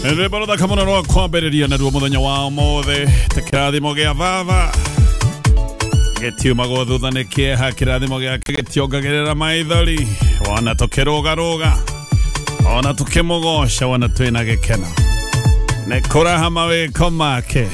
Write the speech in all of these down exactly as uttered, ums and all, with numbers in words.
Rwĩmbo rũthaka mũno rwa kwambĩrĩria naruo mũthenya wa ũmũthĩ ta kĩrathimo gĩa baba gĩtiumagwo thutha nĩ kĩeha kĩrathimo gĩake gĩtiongagĩrĩra maithori wona tũkĩrũgarũga ona tũkĩmũgoca wona twĩna gĩkeno nĩ kũraha mawĩko make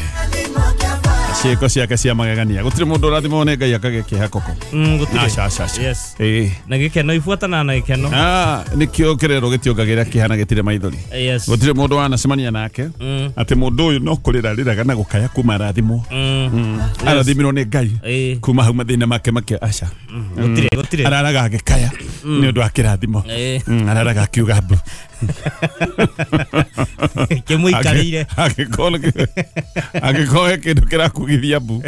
ciĩko ciake cia magegania gũtirĩ mũndũ ũrathimwo nĩ Ngai akagĩa kĩeha koko. Mm, gũtirĩ. Aca, aca, aca. Yes. Ĩĩ. Na gĩkeno ibuatanaga na gĩkeno. Ah, nĩkĩo kĩrero gĩtiongagĩrĩra kĩeha na gĩtirĩ maithori. Yes. Gũtirĩ mũndũ wanacemania nake Mm. atĩ mũndũ ũyũ no kũrĩra rĩraga na gũkaya kuma arathimwo. Mm. Mm. Arathimirwo nĩ Ngai Ĩĩ. kuma hau mathĩna make make aca. Gũtirĩ, gũtirĩ. Araraga agĩkaya nĩ ũndũ wa kĩrathimo. Ĩĩ. Mm, araraga akiuga mbu. Kĩmũikarĩire. Angĩkorwo angĩkorwo he kĩndũ kĩrakugithia mbu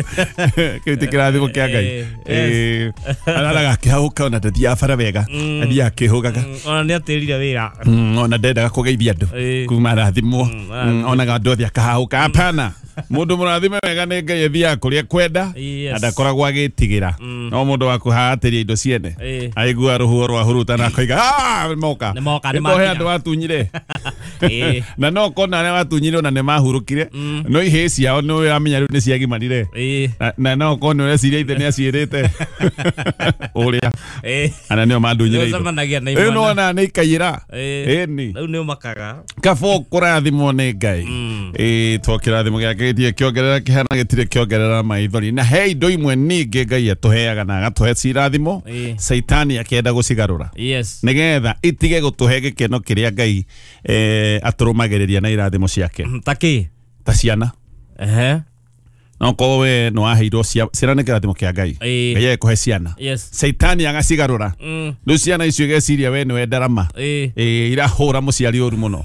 kĩu ti kĩrathimo kĩa Ngai. Ĩĩ, Ĩĩ. Araraga akĩhahũka ona ndathiaga bara wega athiaga akĩhũgaga. Mm, ona nĩ atĩrire wĩra. Mm, ona ndendaga kũgeithia andũ Ĩĩ. kuma arathimwo. Mm, Mm, onaga andũ othe akahahũka hapana mũndũ mũrathime wega nĩ Ngai athiaga kũrĩa kwenda Yes. na ndakoragwo agĩtigĩra no mũndũ wa kũhaatĩria indo ciene Ĩĩ. aigua rũhuho rwa hurutana akoiga "Ah, nĩmoka Nĩmoka, Nĩko he nĩmakinya." andũ watunyire Ĩĩ. na no kona arĩa watunyire ona nĩmahurũkire no ihĩĩ ciao nĩ ũramenya rĩu nĩciagimarire Ĩĩ. na, na no korwo nĩ ũreciria ithe nĩaciĩrĩte ũrĩa Ĩĩ. ana nĩo mandunyire indo Nĩũcemanagia na rĩu imwana. nĩwona nĩ ikaiyĩra Ĩĩ. ĩni Rĩu nĩ ũmakaga. kaba kũrathimwo nĩ Ngai ĩĩ to kĩrathimo gĩake gĩtirĩ kĩongerera kĩeha na gĩtirĩ kĩongerera maithori na he indo imwe ningĩ Ngai atũheaga na agatũhe cirathimo Ĩĩ. Caitani akĩenda gũcigarũra Yes. nĩgetha itige gũtũhe gĩkeno kĩrĩa Ngai eh, atũrũmagĩrĩria na irathimo ciake Ta kĩ? ta ciana Ehe. no korwo we nĩ waheirwo cia- ciana nĩ kĩrathimo kĩa Ngai Ĩĩ. Ngai agĩkũhe ciana Yes. Caitani agacigarũra Mm. rĩu ciana icio igeciria we nĩwe ndarama Ĩĩ. Ĩĩ, irahũra mũciari ũru mũno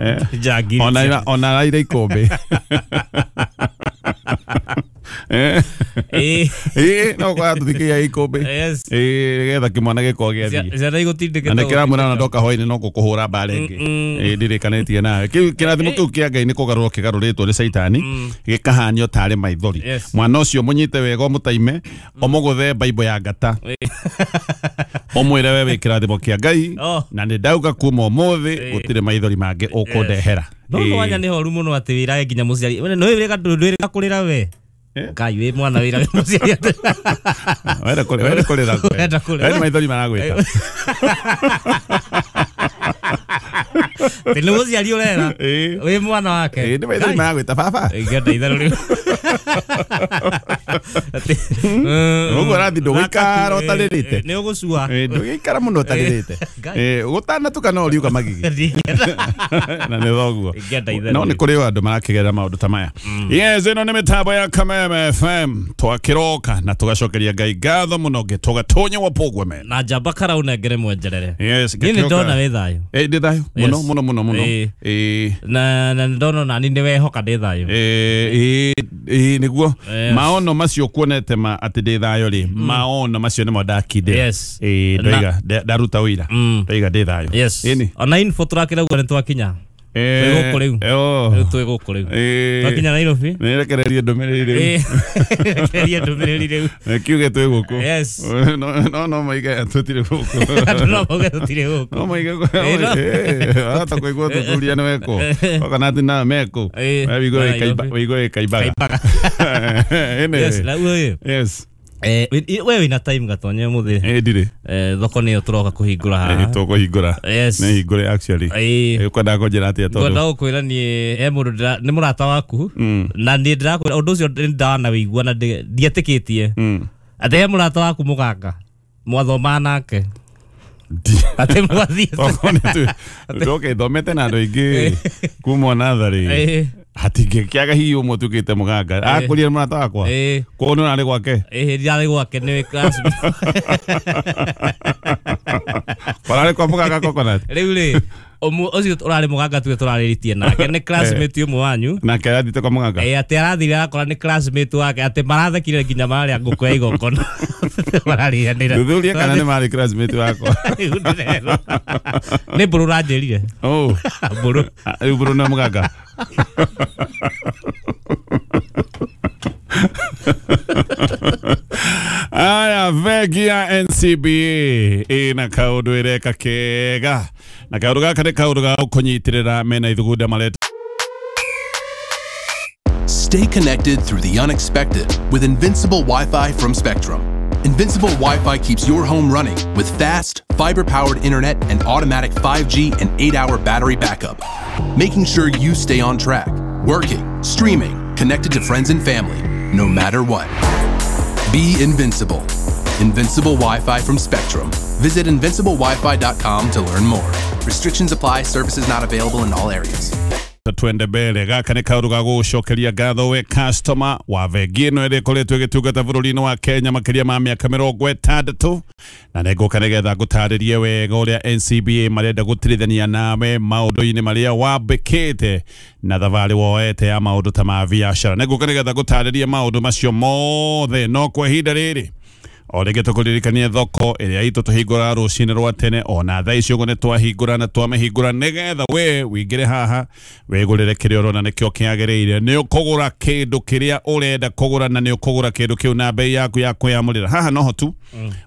Eh. Njangiri. ona ira ona araire ikũmbĩ Eh. Ĩĩ. Ĩĩ, no kwa tũthikĩria ikũmbĩ Yes. Ĩĩ, nĩgetha kĩmwana gĩkorwo gĩathiĩ Ciana igũtindĩkĩtwo. na nĩkĩramwĩra ona ndoka hwainĩ no gũkũhũra mbara ĩngĩ Ĩĩ, ndirĩkanĩtie nawe kĩu kĩrathimo kĩu kĩa Ngai nĩ kũgarũrwo kĩgarũrĩtwo nĩ Caitani gĩkahanio tarĩ maithori Yes. mwana ũcio mũnyite wega ũmũtaime ũmũgũthe baibũ ya ngata ũmwĩre we wĩ kĩrathimo kĩa Ngai Oh. na nĩ ndauga kuma ũmũthĩ gũtirĩ maithori mangĩ ũkũndehera No Ĩĩ. mwanya nĩ horu mũno atĩ wĩrage nginya mũciari. We nĩ wĩrĩga ndwĩrĩga kũrĩra we. Eh? Ngai wĩ mwana wĩrage mũciari atĩ. Wenda kũrĩra wenda kũrĩra Wenda kũrĩra. we nĩ maithori maragwĩta Atĩ nĩ mũciari ũrera. Ĩĩ. Wĩ mwana wake. Ĩĩ, nĩ maithori maragwĩta baba Ingĩenda itherũ rĩu. Atĩ, mm, Ũguo ũrathiĩ ndũgũikara ũtarĩrĩte. Nĩ ũgũcua. Ĩĩ, ndũgĩikara mũno ũtarĩrĩte Ngai. Ĩĩ, gũtanatuka no ũriuga magigi Ndingĩenda. na nĩ thoguo Ingĩenda itherũ no nĩ rĩu. kũrĩ o andũ marakĩgerera maũndũ ta maya yes ĩno nĩ mĩtambo ya Kameme F M twakĩroka na tũgacokeria Ngai ngatho mũno ngĩtũgatonya wa pogweme Na njamba kara ũnengere mwenjerere. yes Niĩ nĩ ngĩkĩroka. ndona wĩ thayũ. Ĩĩ, ndĩ thayũ mũno Yes. mũno mũno mũno Ĩĩ. Ĩĩ. Na na nĩ ndona onani nĩ wehoka ndĩ thayũ. Ĩĩ, ĩĩ, nĩguo Yes. maono macio kuonete ma atĩ ndĩ thayũ rĩ maono macio nĩmo ndakindĩra Yes. Ĩĩ, ndoiga nda- ndaruta ũira Mm. ndoiga ndĩ thayũ Yes. Ĩni. Ona info tũrakĩra ũguo nĩ twakinya. Eh, Twĩ gũkũ rĩu. oh. Rĩu twĩ gũkũ rĩu. Ĩĩ. Twakinya Nairobi. Nĩrekererie ndũmĩrĩri rĩu Ĩĩ. Rekereria ndũmĩrĩri rĩu. kiuge twĩ gũkũ Yes. no no no maige tũtirĩ gũkũ Andũ no mauge tũtirĩ gũkũ. no maige Ĩĩ, no. hata kũigua ũthuthuria nĩ wekwo oka atĩ na mekũ Ĩĩ, wĩigue Nairobi. wĩigue ĩkaimbaga Kaimbaga. Ĩnĩ. Yes, na ĩĩ. Yes. Eh, we wĩna time gatonye mũthĩ. Ĩĩ, ndirĩ Eh, thoko nĩyo tũroka kũhingũra Ĩĩ, haha. tũkũhingũra Yes. nĩ hingũre actually Ĩĩ. Ĩĩ, ũkwendaga kũnjĩra atĩa tondũ Ngwenda gũkwĩra niĩ he mũndũ ndĩra- nĩ mũrata waku Mm. na niĩ ndĩrakwĩra ũndũ ũcio nĩ ndanawĩigua na ndĩ- ndietĩkĩtie Mm. atĩ he mũrata waku mũganga mwathomaga nake Ndi- atĩ mwathiĩte Tokorwo nĩ tu- ndoke thomete na andũ aingĩ kuma natharĩ Ĩĩ. hatingĩkĩaga hihi ũmwe ũtuĩkĩte mũganga akũrire mũrata wakwa Ĩĩ. koguo nĩ ũrarĩ gwake Ĩĩ, ndirarĩ gwake nĩ classmate. ũrarĩ kwa mũganga coconut Rĩu rĩ ũmwe ũcio ũrarĩ mũganga tuge tũrarĩrĩtie nake nĩ classmate ũmwe wanyu nake arathiĩte kwa mũganga Ĩĩ, atĩ arathire arakora nĩ classmate wake atĩ marathekire nginya mararĩa ngũkũ ya igongona mararĩanĩra thuthuria kana nĩ marĩ classmate wakwa Rĩu ndĩrerwo. Nĩ mbũrũ ũranjĩrire Oh. mbũrũ Ah, rĩu mbũrũ nĩ mũganga Aya, bengi ya N C B A ĩna kaũndũ ĩreka kega Na kaũndũ gaka nĩ kaũndũ ga gũkũnyitĩrĩra mena ithugunda mareta. Stay connected through the unexpected with Invincible Wi-Fi from Spectrum. Invincible Wi-Fi keeps your home running with fast, fiber-powered internet and automatic five G and eight hour battery backup, making sure you stay on track, working, streaming, connected to friends and family, no matter what. Be invincible. Invincible Wi-Fi from Spectrum. Visit invincible wifi dot com to learn more. Restrictions apply. Services not available in all areas. Twende mbere. Gaka nĩ kaũndũ ga gũgũcokeria ngatho we customer wa bengi ĩno ĩrĩa ĩkoretwo ĩgĩtungata bũrũri-inĩ wa Kenya makĩria ma mĩaka mĩrongo ĩtandatũ, na nĩngũka nĩgetha ngũtarĩrie wega ũrĩa N C B A marenda gũtirithania nawe maũndũ-inĩ marĩa wambĩkĩte na thabarĩ woete ya maũndũ ta ma biacara. Nĩngũka nĩgetha ngũtarĩrie maũndũ macio mothe, no kwa ihinda rĩrĩ o rĩngĩ tũkũririkanie thoko ĩrĩa itũ tũhingũraga rũcinĩ rwa tene, ona thaa ici ũguo nĩ twahingũra na twamĩhingũra nĩgetha we wĩingĩre haha wĩgũrĩre kĩrĩa ũrona nĩkĩo kĩagĩrĩire. Nĩ ũkũgũra kĩndũ kĩrĩa ũrenda kũgũra na nĩ ũkũgũra kĩndũ kĩu na bei yaku ya kwĩyamũrĩra. Haha noho tu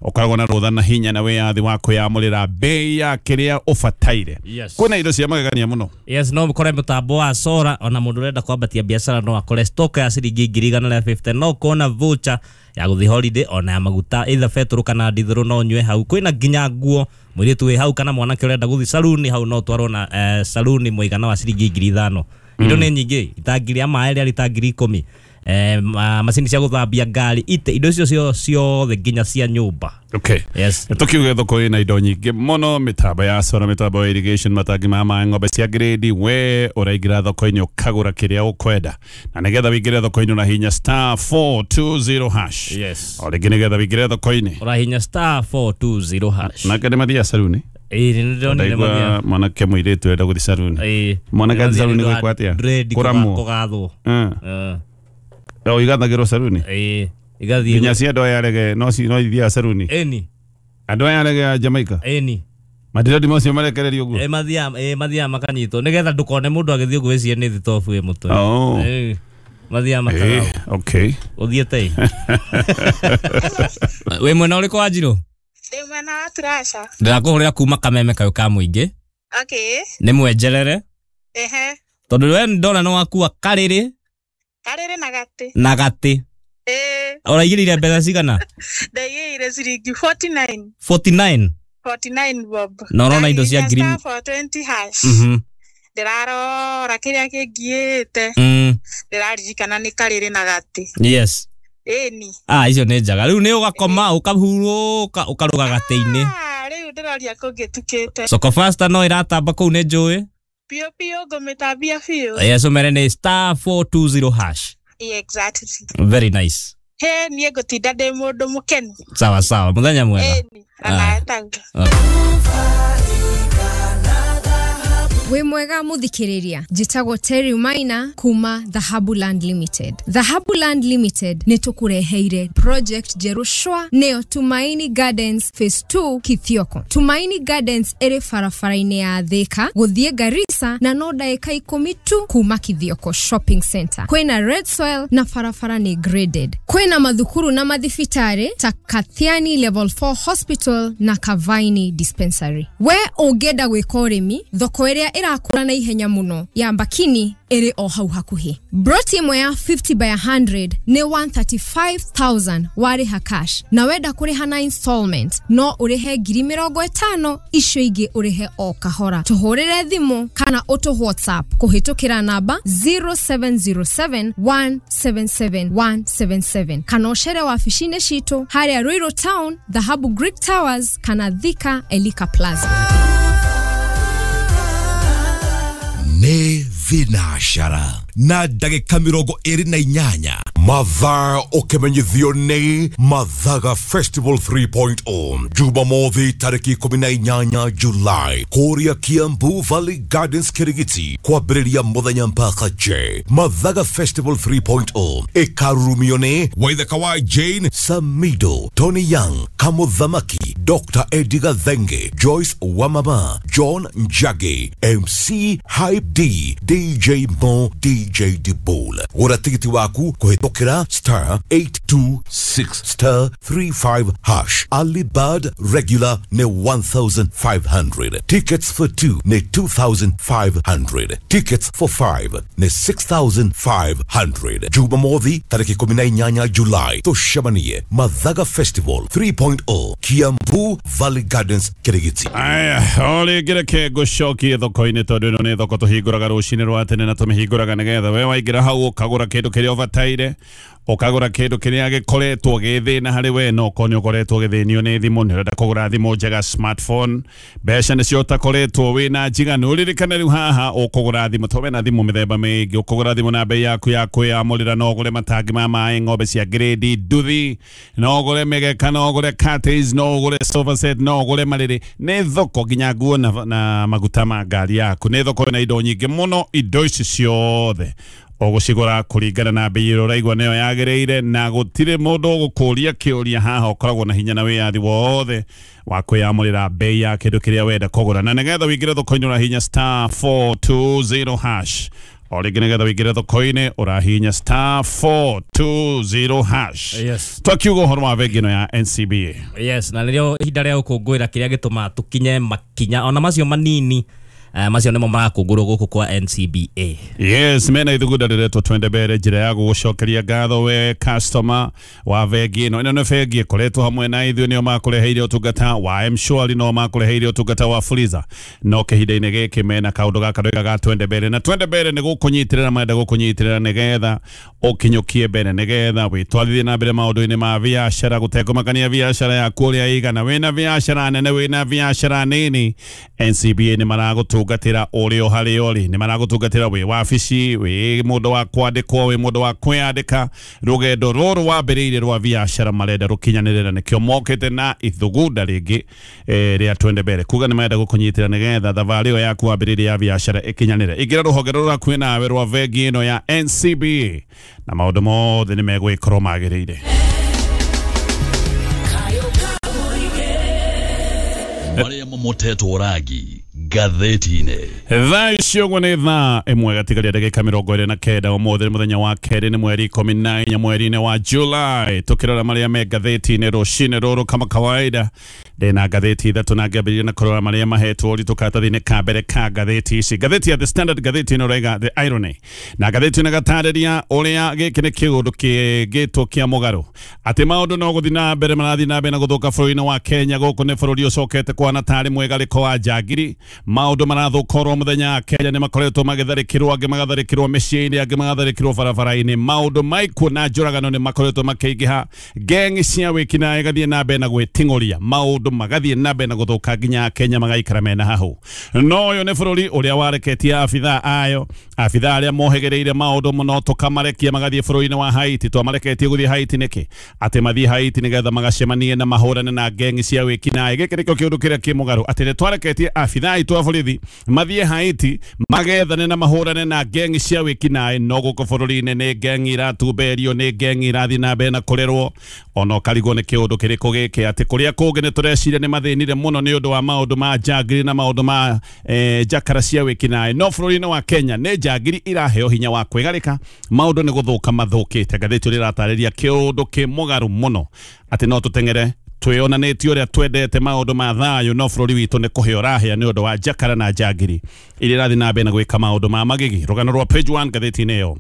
ũkoragwo na rũtha na hinya na wĩyathi wa kwĩyamũrĩra bei ya kĩrĩa ũbataire. Yes. Kwĩna indo cia magegania mũno. Yes, no ũkore mũtambo wa sora, ona mũndũ ũrenda kwambatia biacara no akore stock ya ciringi ngiri igana rĩa fifty, no ũkona voucher ya gũthiĩ holiday ona ya maguta either betũrũ kana ndithũrũ no nyue hau. Kwĩna nginya nguo, mũirĩtu wĩ hau kana mwanake ũrenda gũthiĩ saluni hau no twarwo na eh, saluni mũigana wa ciringi ngiri ithano. Indo nĩ nyingĩ, itangi rĩa maĩ rĩa rita ngiri ikũmi, eh, macini cia gũthambia ngari, ite indo icio ciothe nginya cia nyũmba. Okay. Yes. Tukiuge thoko ina indo nyingĩ mũno, mĩtambo ya solar, mĩtambo ya irrigation, matangi ma maĩ, ng'ombe cia grade. We ũraingĩra thoko-inĩ ũkagũra kĩrĩa ũkwenda, na nĩgetha wĩingĩre thoko-inĩ ũrahinya star four two zero hash. Yes. O rĩngĩ nĩgetha wĩingĩre thoko-inĩ ũrahinya star four two zero hash. Nake nĩ mathiaga saruni? Ĩĩ, nĩ ndĩronire mathiaga. Mwanake mũirĩtu ũrenda gũthiĩ saruni. Ĩĩ. Mwanake athiĩ saruni gwĩkwo atĩa? Kũramwo. Kũgathwo. Ĩĩ. O igathagĩrwo saruni? Ĩĩ. Igathiĩ nginya cia andũ aya arege no no ithiaga saruni. Ĩni. Andũ aya arege a Jamaica? Ĩni. Madirodi macio marekererio ũguo? Ĩĩ, mathiaga, ĩĩ, mathiaga makanyitwo nĩgetha ndũkone mũndũ agĩthiĩ ũguo wĩcirie nĩ thitobu ĩ mũtwe. Oh. Ĩĩ. Mathiaga makagathwo. Okay. Ũthiĩte ĩ? Wĩ mwena ũrĩkũ wa Njirũ? Ndĩ mwena wa Turasha. Ndĩrakũhũrĩra kuma Kameme kayũ ka mũingĩ. Okay. Nĩ mwenjerere. Ehe. Tondũ we ndona nĩ wakua karĩrĩ. Karĩrĩ na gatĩ. Na gatĩ. Eh. Ũraigĩrĩire mbeca cigana? Ndaigĩrĩire ciringi forty nine. forty nine? forty nine bob. Na ũrona indo cia ngiri four twenty hash. Mhm. Ndĩrarora kĩrĩa kĩngiĩte. Mm. Ndĩraririkana nĩ karĩrĩ na gatĩ. Yes. Ĩni. Ah, icio nĩ njega. Rĩu nĩ ũgakoma ũkahurũka ũkarũga gatĩ-inĩ. Ah, rĩu ndĩroria kũngĩtukĩte. Soko Fasta no ĩratamba kũu nĩ njũĩ. Biũ biũ ngũmĩtambia biũ. Yes, ũmere nĩ star four two zero hash. Exactly. Very nice. He, niĩ ngũtinda ndĩ mũndũ mũkenu. Sawa sawa, mũthenya mwega. Ĩni, ona etaguo. Wĩ mwega mũthikĩrĩria, njĩtagwo Terry Maina kuma Dhahabu Land Limited. Dhahabu Land Limited nĩ tũkũreheire project njerũ shwa, nĩyo Tumaini Gardens Phase two Kithioko. Tumaini Gardens ĩrĩ barabara-inĩ ya Thika gũthiĩ Garissa na no ndagĩka ikũmi tu kuma Kithioko Shopping Center. Kwĩna red soil na barabara nĩ graded. Kwĩna mathukuru na mathibitarĩ ta Kathiani Level four Hospital na Kavaini Dispensary. We ũngĩenda gwĩka ũrĩmi, thoko ĩrĩa ĩrakũra na ihenya mũno ya Mbakini ĩrĩ o hau hakuhĩ. Broti ĩmwe ya fifty by a hundred nĩ one thirty five thousand warĩha cash, na wenda kũrĩha na installment no ũrĩhe ngiri mĩrongo ĩtano, icio ingĩ ũrĩhe o kahora. Tũhũrĩre thimũ kana ũtũ WhatsApp kũhĩtũkĩra namba zero seven zero seven one seven seven one seven seven kana ũcere wabici-inĩ citũ harĩa Ruiru Town, Dhahabu Greek Towers kana Thika Elika Plaza. Nĩ thinashara na ndagĩka mĩrongo ĩrĩ na inyanya mathaa ũkĩmenyithio nĩ Mathaga Festival three point oh Jumamothi tarĩki ikũmi na inyanya July kũrĩa Kiambu Valley Gardens Kirigiti kwambĩrĩria mũthenya mpaka J. Mathaga Festival three point oh ĩkarurumio nĩ Waithaka wa Jane Samido, Tony Young, Kamuthamaki, Doctor Eddie Gathenge, Joyce Wamama, John Njagi, M C Hype D, D J Mo, D J Dibol. Gũra tigiti waku kũhĩtũkĩra Cokera star eight two six star three five hash. Early bird regular ne one thousand five hundred. Tickets for two ne two thousand five hundred. Tickets for five ne six thousand five hundred. Jumamothi tariki ikumi na inyanya July tucemanie Mathaga Festival three point oh Kiambu Valley Gardens Kirigiti. Aya, o rĩngĩ reke ngũcokie thoko-inĩ tondũ ĩno nĩ thoko tũhingũraga rũcinĩ rwa tene na tũmĩhingũraga nĩgetha we waingĩra hau ũkagũra kĩndũ kĩrĩa ũbataire, ũkagũra kĩndũ kĩrĩa gĩkoretwo gĩ thĩna harĩ we, no okorwo nĩ ũkoretwo ũgĩthĩnio nĩ thimũ, nĩ ũrenda kũgũra thimũ njega smartphone, mbeca nĩcio ũtakoretwo wĩna njiganu. Ũririkane rĩu haha ũkũgũra thimũ, tondũ wĩna thimũ mĩthemba mĩingĩ, ũkũgũra thimũ na bei yaku ya kwĩyamũrĩra, no ũgũre matangi ma maĩ, ng'ombe cia grade, nduthi, no ũgũre mĩgeka, no ũgũre curtains, no ũgũre sofa set, no ũgũre marĩrĩ. Nĩ thoko nginya nguo na, na maguta ma ngari yaku. Nĩ thoko ĩna indo nyingĩ mũno, indo ici ciothe ũgũcigũra kũringana na bei ĩrĩa ũraigua nĩyo yagĩrĩire, na gũtirĩ mũndũ ũgũkũria kĩũria haha. Ũkoragwo na hinya na wĩyathi wothe wa kwĩyamũrĩra bei ya kĩndũ kĩrĩa wenda kũgũra, na nĩgetha ũingĩre thoko-inĩ ũrahihinya star four two zero hash. O rĩngĩ nĩgetha ũingĩre thoko-inĩ ũrahihinya star four two zero hash. Yes. Twakiuga ũhoro wa bengi ĩno ya N C B A. Yes, na nĩrĩo ihinda rĩa gũkũngũĩra kĩrĩa gĩtũmaga tũkinye makinya ona macio manini, uh, macio nĩmo marakũngũrwo gũkũ kwa N C B A. Yes, mena ithugunda rĩretwo Twende Mbere, njĩra ya gũgũcokeria ngatho we customer wa bengi ĩno. Ĩno nĩ bengi ĩkoretwo hamwe na ithuĩ, nĩo makũreheire ũtungata wa M-Shwari, no makũreheire ũtungata wa Fuliza, no kĩhinda-inĩ gĩkĩ mena kaũndũ gaka ndauga ga Twende Mbere, na Twende Mbere nĩ gũkũnyitĩrĩra, marenda gũkũnyitĩrĩra nĩgetha ũkinyũkie mbere, nĩgetha wĩtwarithie na mbere maũndũ-inĩ ma biacara, gũtekũmakania biacara yaku ũrĩa ĩigana, wĩna biacara nene, wĩna biacara nini, N C B A nĩ maragũtungatĩra ũrĩ o harĩa ũrĩ, nĩ maragũtungatĩra wĩ wabici, wĩ mũndũ wa kwandĩkwo, wĩ mũndũ wa kwĩyandĩka. Rũgendo rũrũ wambĩrĩirie rwa biacara marenda rũkinyanĩre, na nĩkĩo mokĩte na ithugunda rĩngĩ eh, rĩa Twende Mbere, kuga nĩ marenda gũkũnyitĩra nĩgetha thabarĩ ĩyo yaku wambĩrĩirie ya biacara ĩkinyanĩre. Ingĩra rũhonge rũrũ hakuhĩ nawe rwa bengi ĩno ya N C B A na maũndũ mothe nĩ megwĩkorwo magĩrĩire. Marĩa momotetwo rangi ngathĩti-inĩ. Thaa icio ũguo nĩ thaa ĩmwe gatigaria ndagĩka mĩrongo ĩrĩ na kenda ũmũthĩ nĩ mũthenya wa kerĩ, nĩ mweri ikũmi na inya mweri-inĩ wa July. Tũkĩrora marĩa me ngathĩti-inĩ rũcinĩ rũrũ kama kawaida, ndĩna ngathĩti ithatũ na ngĩambĩrĩria na kũrora marĩa mahetwo ũritũ karatathi-inĩ ka mbere ka ngathĩti ici. Ngathĩti ya The Standard, ngathĩti ĩno ĩrauga The Irony, na ngathĩti ĩno ĩgatarĩria ũrĩa gĩkĩ nĩ kĩũndũ kĩngĩtwo kĩa mũgarũ, atĩ maũndũ no gũthiĩ na mbere marathiĩ na mbere na gũthũka bũrũri-inĩ wa Kenya. Gũkũ nĩ bũrũri ũcokete kwana tarĩ mwĩgarĩko wa njangiri, maũndũ marathũka oro mũthenya. Kenya nĩ makoretwo magĩtharĩkĩrwo, angĩ magatharĩkĩrwo mĩciĩ-inĩ, angĩ magatharĩkĩrwo barabara-inĩ. Maũndũ maikuũ na njũragano nĩ makoretwo makĩingĩha, gengi cia wĩkinaĩ igathiĩ na mbere na gwĩting'ũria, maũndũ magathiĩ na mbere na gũthũka nginya Kenya magaikara mena hahũ. No ũyũ nĩ bũrũri ũrĩa wareketie abithaa ayo, abithaa arĩa mohĩgĩrĩire maũndũ mũno, tũkamarekia magathiĩ bũrũri-inĩ wa Haiti. Twamareketie gũthiĩ Haiti nĩkĩ? Atĩ mathiĩ Haiti nĩgetha magacemanie na mahũrane na gengi cia wĩkinaĩ. Gĩkĩ nĩkĩo kĩũndũ kĩrĩa kĩ mũgarũ, atĩ nĩ twareketie abithaa aitũ a borithi mathiĩ Haiti magethane na mahũrane na gengi cia wĩkinaĩ, no gũkũ bũrũri-inĩ nĩ gengi iratumberio, nĩ gengi irathiĩ na mbere na kũrerwo. Ona ũkarigwo nĩ kĩũndũ kĩrĩkũ gĩkĩ, atĩ kũrĩa kũngĩ nĩ tũreciria nĩ mathĩnire mũno nĩ ũndũ wa maũndũ ma njangiri na maũndũ ma eh, njakara cia wĩkinaĩ, no bũrũri-inĩ wa Kenya nĩ njangiri iraheo hinya wa kwĩgarĩka, maũndũ nĩ gũthũka mathũkĩte. Ngathĩti rĩratarĩria kĩũndũ kĩ mũgarũ mũno, atĩ no tũteng'ere twĩonanĩtie ũrĩa twendete maũndũ ma thayũ, no bũrũri witũ nĩ kũhĩa ũrahĩa nĩ ũndũ wa njakara na njangiri iria irathiĩ na mbere na gwĩka maũndũ ma magigi. Rũgano rwa page one ngathĩti-inĩ ĩyo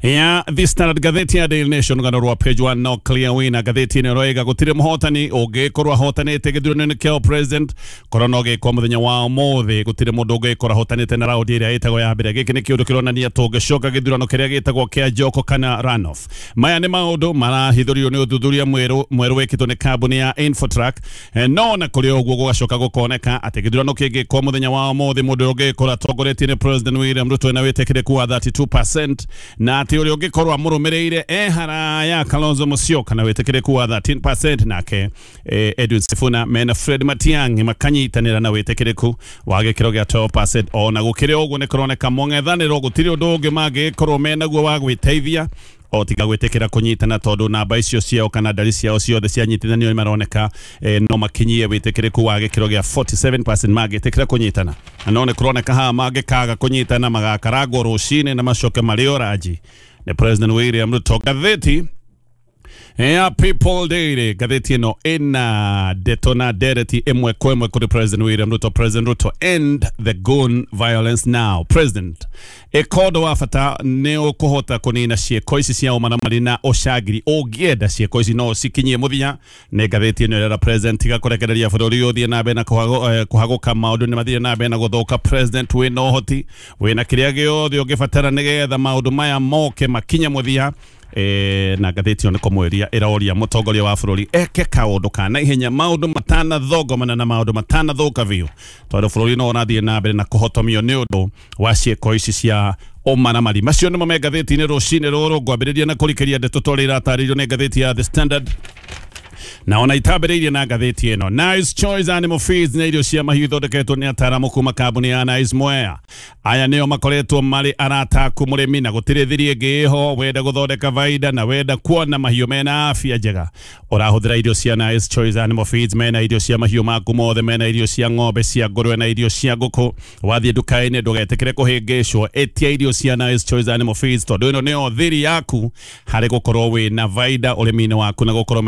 ya The Standard. Ngathĩti ya Daily Nation, rũgano rwa page one, no clear winner. Ngathĩti ĩno ĩroiga gũtirĩ mũhotani ũngĩkorwo ahotanĩte gĩthurano-inĩ kĩa president, korwo no gĩkwo mũthenya wa ũmũthĩ, gũtirĩ mũndũ ũngĩkorwo ahotanĩte na raundi ĩrĩa ĩtagwo ya mbere. Gĩkĩ nĩ kĩũndũ kĩronania tũngĩcoka gĩthurano kĩrĩa gĩtagwo kĩa Joko kana runoff. Maya nĩ maũndũ marahithũrio nĩ ũthuthuria mwerũ mwerũ wĩkĩtwo nĩ kambuni ya Infotrack. No na kũrĩ ũguo gũgacoka gũkoneka atĩ gĩthurano kĩngĩkwo mũthenya wa ũmũthĩ, mũndũ ũngĩkorwo atongoretie nĩ President William Ruto na wĩtĩkĩrĩku wa thirty-two percent, na atĩ ũrĩa ũngĩkorwo amũrũmĩrĩire e haraya Kalonzo Musyoka na wĩtĩkĩrĩku wa thirteen percent, nake eh, Edwin Sifuna mena Fred Matiang'i makanyitanĩra na wĩtĩkĩrĩku wa gĩkĩro gĩa twelve percent. Ona gũkĩrĩ ũguo nĩ kũroneka mũng'ethanĩro gũtirĩ ũndũ ũngĩ mangĩkorwo menaguo wa gwĩteithia o tiga gwĩtĩkĩra kũnyitana, tondũ namba icio ciao kana ndari ciao ciothe cianyitithanio maroneka eh, no makinyie wĩtĩkĩrĩku wa gĩkĩro gĩa forty-seven percent mangĩtĩkĩra kũnyitana. Na no nĩ kũroneka haha mangĩkaga kũnyitana magakarangwo rũcinĩ na macoke marĩ oranji Nĩ President William Ruto. Ngathĩti ya People Daily, ngathĩti ĩno ĩna ndeto na ndereti ĩmwe kwa ĩmwe kũrĩ President William Ruto. President Ruto, end the gun violence now. President, ĩkondo wa bata nĩ ũkũhota kũnina ciĩko ici cia ũmaramari na ũcangiri. Ũngĩenda ciĩko ici no cikinyie mũthia. Nĩ ngathĩti ĩno ĩrera President tiga kũrekereria bũrũri ũthiĩ na mbere na kũhagũka, maũndũ nĩ mathiĩ na mbere na gũthũka. President, wĩna ũhoti, wĩna kĩrĩa gĩothe ũngĩbatara nĩgetha maũndũ maya moke makinye mũthia. E, na ngathĩti ĩyo nĩ kũmwĩria ĩroria mũtongoria wa bũrũri eke kaũndũ ka naihenya, maũndũ matanathongomana na maũndũ matanathũka biũ, tondũ bũrũri no ũrathiĩ na mbere na kũhotomio nĩ ũndũ wa ciĩko ici cia ũmaramari. Macio nĩmo me ngathĩti-inĩ rũcinĩ rũrũ. Ngwambĩrĩria na kũrikĩria ndeto ta ũrĩa iratarĩirio nĩ ngathĩti ya The Standard, na ona itambĩrĩirie na ngathĩti ĩno. Nice Choice Animal Feeds nĩ irio cia mahiũ ithondeketwo nĩ ataaramu kuma kambuni ya Nice Mwea. Aya nĩo makoretwo marĩ arata aku mũrĩmi, na gũtirĩ thiri ĩngĩ ĩho. Wenda gũthondeka baida na wenda kuona mahiũ mena afya njega, ũrahũthĩra irio cia Nice Choice Animal Feeds. Mena irio cia mahiũ maku mothe, mena irio cia ng'ombe, cia ngũrwe na irio cia ngũkũ. Wathiĩ nduka-inĩ ndũgetĩkĩre kũhĩngĩcwo, ĩtia irio cia Nice Choice Animal Feeds, tondũ ĩno nĩyo thiri yaku harĩ gũkorwo wĩna baida ũrĩmi-inĩ waku na gũkorwo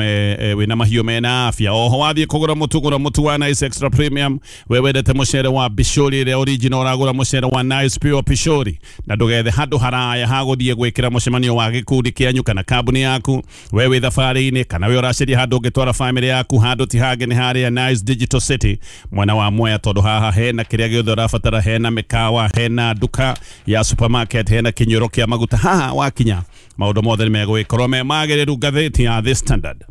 wĩna mahiũ mena afya. Oho wathiĩ kũgũra mũtu, gũra mũtu wa Nice Extra Premium. We wendete mũcere wa Bishori ĩrĩa original, ũragũra mũcere wa Nice Pure Pishori, na ndũgethe handũ haraya ha gũthiĩ gwĩkĩra mũcemanio wa gĩkundi kĩanyu kana kambuni yaku. We wĩ thabarĩ-inĩ kana we ũracaria handũ ũngĩtwara family yaku, handũ ti hangĩ nĩ harĩa Nice Digital City mwena wa Mwea, tondũ haha hena kĩrĩa gĩothe ũrabatara, hena mĩkawa, hena nduka ya supermarket, hena kĩnyuĩro kĩa maguta. Haha wakinya maũndũ mothe nĩ megũgĩkorwo me magĩrĩru. Ngathĩti ya The Standard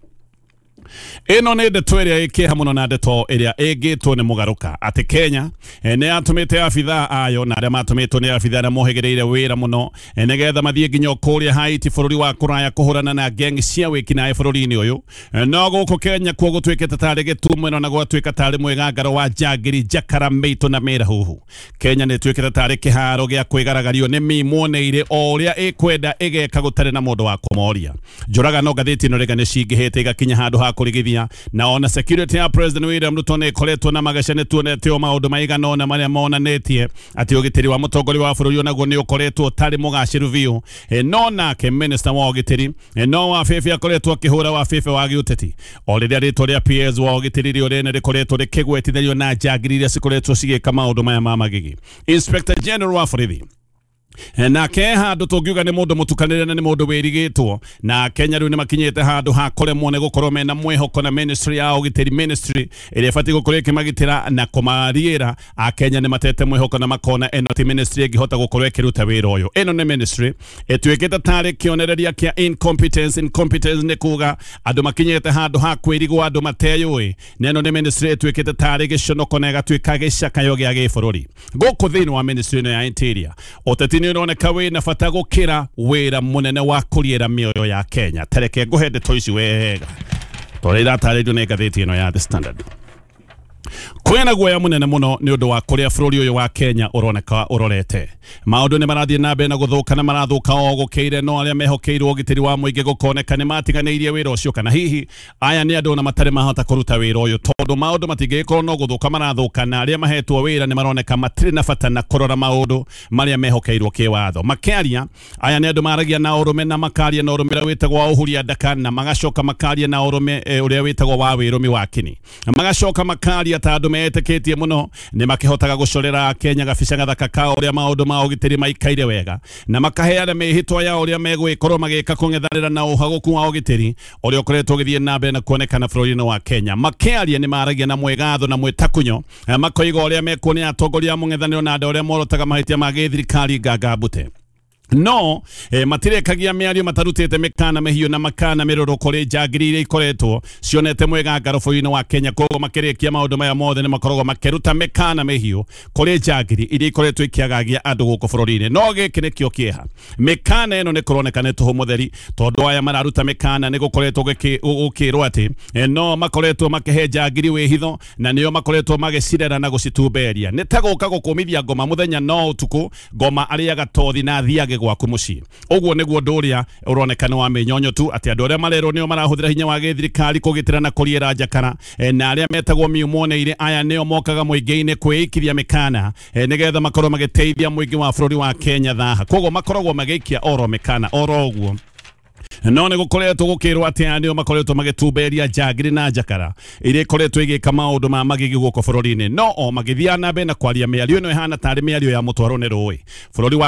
ĩno nĩ ndeto ĩrĩa ĩkĩeha mũno na ndeto ĩrĩa ĩngĩtwo nĩ mũgarũka atĩ Kenya nĩ yatũmĩte abithaa ayo na arĩa matũmĩtwo nĩ abithaa arĩa mohĩgĩrĩire wĩra mũno nĩgetha mathiĩ nginya kũrĩa Haiti bũrũri wa kũraya kũhũrana na gang cia wĩkinaĩ bũrũri-inĩ ũyũ. No gũkũ Kenya kuo gũtuĩkĩte tarĩ gĩtumũno na gwatuĩka tarĩ mwĩgangaro wa njangiri njakara mĩitũ na mĩrahuhu. Kenya nĩ ĩtuĩkĩte tarĩ kĩharo gĩa kwĩgaragario nĩ mĩmuoneire o ũrĩa ĩkwenda ĩgeka gũtarĩ na mũndũ wa kũmoria. Njũragano ngathĩti ĩno rĩga nĩ cingĩhĩte igakinya handũ ha kũrigithia, na ona security ya President William Ruto nĩ ĩkoretwo na magaca. Nĩ tuonete o maũndũ maigana ũna marĩa monanĩtie atĩ ũgitĩri wa mũtongoria wa bũrũri onaguo nĩ ũkoretwo ũtarĩ mũgacĩru biũ. E, no nake minister wa ũgitĩri e, no wa bebe akoretwo akĩhũra wa bebe wa gĩũteti, o rĩrĩa rĩtwa rĩa P S wa ũgitĩri rĩo rĩene rĩkoretwo rĩkĩgwetithanio na njangiri iria cikoretwo cigĩka maũndũ maya ma magigi. Inspector General wa borithi nake handũ tũngiuga nĩ mũndũ mũtukanĩre na nĩ mũndũ wĩrigĩtwo, na Kenya rĩu nĩ makinyĩte handũ ha kũremwo nĩ gũkorwo mena mwĩhoko na ministry ya ũgitĩri, ministry ĩrĩa ĩbatiĩ gũkorwo ĩkĩmagitĩra na kũmariĩra. Akenya nĩ matete mwĩhoko na makona ĩno ti ministry ĩngĩhota gũkorwo ĩkĩruta wĩra ũyũ. Ĩno nĩ ministry ĩtuĩkĩte tarĩ kĩonereria kĩa incompetence. Incompetence nĩ kuga andũ makinyĩte handũ ha kwĩrigwo, andũ mateyũĩ, na ĩno nĩ ministry ĩtuĩkĩte tarĩ gĩconoko na ĩgatuĩka gĩcakayo gĩa gĩbũrũri. Gũkũ thĩinĩ wa ministry ĩno ya interior, ũteti nĩ ũroneka wĩna bata gũkĩra wĩra mũnene wa kũriĩra mĩoyo ya Kenya. Tareke ngũhe ndeto ici wega tondũ iratarĩirio nĩ ngathĩti ĩno ya The Standard. Kwĩna guoya mũnene mũno nĩ ũndũ wa kũrĩa bũrũri ũyũ wa Kenya ũroneka ũrorete. Maũndũ nĩ marathiĩ na mbere na gũthũka na marathũka o gũkĩire, no arĩa mehokeirwo ũgitĩri wa mũingĩ gũkoneka nĩ matiganĩirie wĩra ũcio, kana hihi aya nĩ andũ ona matarĩ mahota kũruta wĩra ũyũ, tondũ maũndũ matingĩgĩkorwo no gũthũka marathũka, na arĩa mahetwo wĩra nĩ maroneka matirĩ na bata na kũrora maũndũ marĩa mehokeirwo kĩwatho. Makĩaria aya nĩ andũ maragia na ũrũme na makaria na ũrũme ũrĩa wĩtagwo wa ũhuria ndaka, na magacoka makaria na ũrũme ũrĩa wĩtagwo wa wĩrũmi wa kini, magacoka makaria ta andũ metĩkĩtie mũno nĩ makĩhotaga gũcorera Kenya gabica gathaka ka ũrĩa maũndũ ma ũgitĩri maikaire wega, na makaheana mĩhĩtwa ya ũrĩa megwĩkorwo magĩka kũng'ethanĩra na ũhagũku wa ũgitĩri ũrĩa ũkoretwo ũgĩthiĩ na mbere na kuonekana bũrũri-inĩ wa Kenya. Makĩaria nĩ maragia na mwĩgatho na mwĩtakunyo, makoiga ũrĩa mekuonia atongoria a mũng'ethanĩro na andũ arĩa morotaga mahĩtia ma gĩthirikari ngangambute. No eh, matirekagia mĩario matarutĩte mĩkana mĩhiũ na makana mĩrũrũ kũrĩ njangiri iria ikoretwo cionete mwĩgangaro bũrũri-inĩ wa Kenya. Koguo makĩrĩkia maũndũ maya mothe nĩ makoragwo makĩruta mĩkana mĩhiũ kũrĩ njangiri iria ikoretwo ikĩagagia andũ gũkũ bũrũri-inĩ. No gĩkĩ nĩkĩo kĩeha, mĩkana ĩno nĩ kũroneka nĩ tũhũ mũtheri, tondũ aya mararuta mĩkana nĩ gũkoretwo gũkĩrwo atĩ eh, no makoretwo makĩhe njangiri wĩhitho na nĩo makoretwo magĩcirera na gũcitumberia. Nĩ ta gũka gũkũmithia ngoma mũthenya no ũtukũ, ngoma arĩaga tothi na athiage njage gwaku muciĩ. Ũguo nĩguo ũndũ ũrĩa ũronekana wa mĩnyonyo tu atĩ andũ arĩa marerwo nĩo marahũthĩra hinya wa gĩthirikari kũgitĩra na kũriĩra njakara e, na arĩa metagwo miumoneire aya nĩo mokaga mũingĩ-inĩ kwĩikiria mĩkana e, nĩgetha makorwo magĩteithia mũingĩ wa bũrũri wa Kenya thaha. Koguo makoragwo magĩikia oro mĩkana oro ũguo. No nĩ gũkoretwo gũkĩrwo atĩ aya nĩo makoretwo magĩtumberia njangiri na njakara iria ikoretwo igĩka maũndũ ma magigi gũkũ bũrũri-inĩ, no o magĩthiaga na mbere na kwaria mĩario ĩno ĩhana tarĩ mĩario ya mũtwaro nĩ rũĩ bũrũri wa